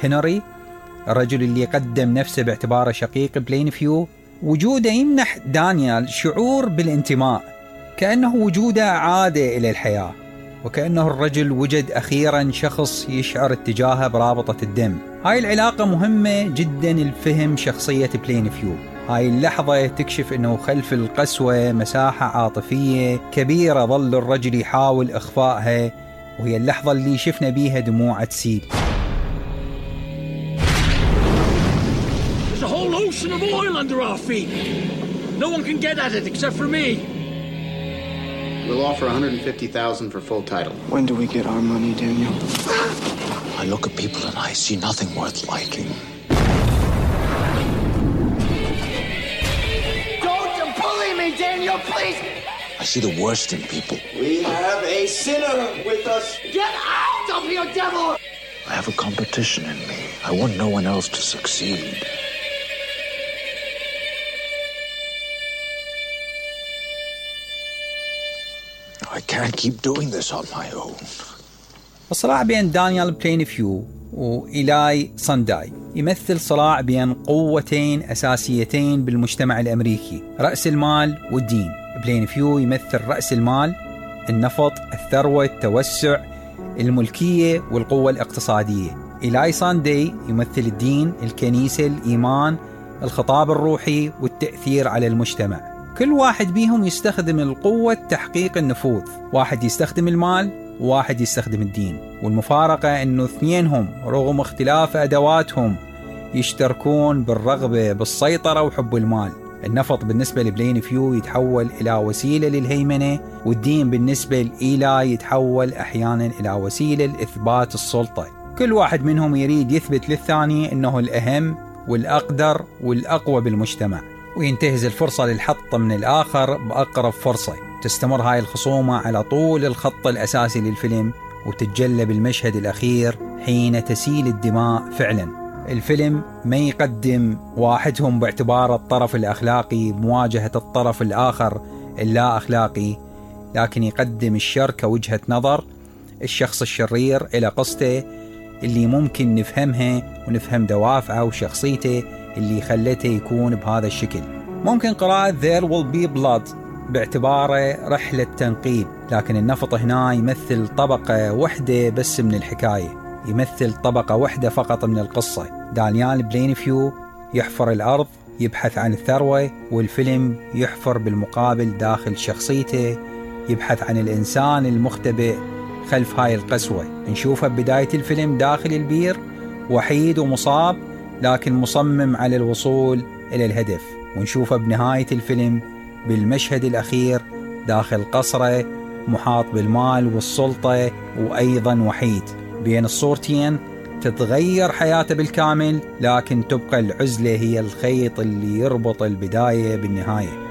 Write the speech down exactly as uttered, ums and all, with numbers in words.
هنري، الرجل اللي قدم نفسه باعتباره شقيق بلينفيو. وجوده يمنح دانيال شعور بالانتماء، كأنه وجوده عادة إلى الحياة، وكأنه الرجل وجد أخيرا شخص يشعر اتجاهه برابطة الدم. هاي العلاقة مهمة جدا لفهم شخصية بلينفيو. هاي اللحظة تكشف أنه خلف القسوة مساحة عاطفية كبيرة ظل الرجل يحاول إخفائها، وهي اللحظة اللي شفنا بيها دموع تسيل. There's a whole ocean of oil under our feet. No one can get at it except for me. We'll offer one hundred fifty thousand dollars for full title. When do we get our money, Daniel? I look at people and I see nothing worth liking. Don't bully me, Daniel, please! I see the worst in people. We have a sinner with us. Get out of here, devil! I have a competition in me. I want no one else to succeed. I can't keep doing this on my own. الصراع بين دانيال بلينفيو وإيلاي سانداي يمثل صراع بين قوتين أساسيتين بالمجتمع الأمريكي، رأس المال والدين. بلينفيو يمثل رأس المال، النفط، الثروة، التوسع، الملكية والقوة الاقتصادية. إيلاي سانداي يمثل الدين، الكنيسة، الإيمان، الخطاب الروحي والتأثير على المجتمع. كل واحد بيهم يستخدم القوة لتحقيق النفوذ، واحد يستخدم المال وواحد يستخدم الدين. والمفارقة أنه اثنينهم رغم اختلاف أدواتهم يشتركون بالرغبة بالسيطرة وحب المال. النفط بالنسبة لبلينفيو يتحول إلى وسيلة للهيمنة، والدين بالنسبة لإيلاي يتحول أحيانا إلى وسيلة لإثبات السلطة. كل واحد منهم يريد يثبت للثاني أنه الأهم والأقدر والأقوى بالمجتمع، وينتهز الفرصة للحط من الآخر بأقرب فرصة. تستمر هاي الخصومة على طول الخط الأساسي للفيلم، وتتجلى بالمشهد الأخير حين تسيل الدماء فعلا. الفيلم ما يقدم واحدهم باعتبار الطرف الأخلاقي بمواجهة الطرف الآخر اللا أخلاقي، لكن يقدم الشر كوجهة نظر الشخص الشرير إلى قصته اللي ممكن نفهمها ونفهم دوافعه وشخصيته اللي خلته يكون بهذا الشكل. ممكن قراءة There Will Be Blood باعتباره رحلة تنقيب، لكن النفط هنا يمثل طبقة واحدة بس من الحكاية، يمثل طبقة واحدة فقط من القصة. دانيال بلينفيو يحفر الأرض، يبحث عن الثروة، والفيلم يحفر بالمقابل داخل شخصيته، يبحث عن الإنسان المختبئ خلف هاي القسوة. نشوفه ببداية الفيلم داخل البير وحيد ومصاب، لكن مصمم على الوصول إلى الهدف. ونشوفه بنهاية الفيلم بالمشهد الأخير داخل قصره محاط بالمال والسلطة، وأيضا وحيد. بين الصورتين تتغير حياته بالكامل، لكن تبقى العزلة هي الخيط اللي يربط البداية بالنهاية.